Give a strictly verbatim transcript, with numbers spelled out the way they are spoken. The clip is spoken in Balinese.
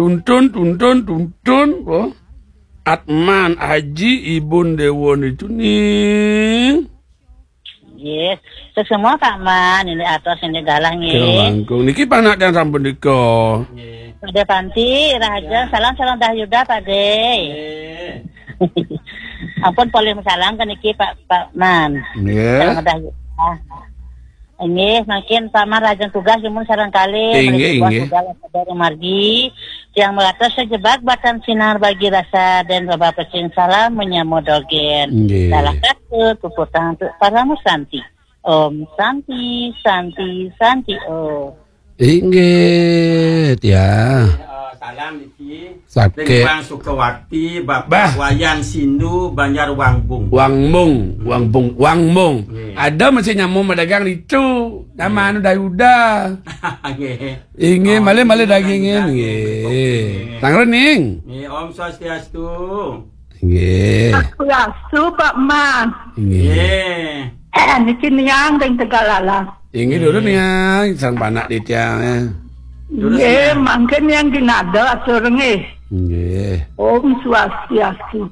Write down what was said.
Tuntun, tuntun, tuntun. Oh. Atman, Aji, Ibun, Dewon itu nih. Yes. Terus semua Pak Man, ini atas ini galah nggih. Kira langkung. Niki panak yang sampun dika. Pak De Panti, Raja, salam, salam dah Yuda, Pak De. Ampun, polih salam ke niki, Pak, Pak Man. Nggih. Salam dah Yuda. Inggih, mangkin Pak Man lajeng tugas, nyuwun sareng kalih. Inggih, inggih. Dari margi, yang meratus sejebak batang sinar bagi rasa dan baba pecing salam menyambut dogen. Inggih. Salah satu puputang untuk para musanti. Om Santi, Santi, Santi, Om. Inggih, ya. Eh, salam niki. Sakit. Bang Sukawati, Bapak Wayan Sindu, Banjar Wangbung. Wangbung, Wangbung, Wangbung. Nggih. Ada masih nyamuk madagang itu. Nama anu Dayuda. Nggih. Inggih, malih-malih dagingin, nggih. Nggih. Tangrening. Nggih, Om Swastiastu. Nggih. Swastiastu, Pak Man. Nggih. Nggih. Eh, niki niang ring Tegallalang. Inggih, durus niang, sang panak di tiang, ya. Durus niang. Nggih, mangkin niang ginada atur nggih. Nggih. Om Swastiastu.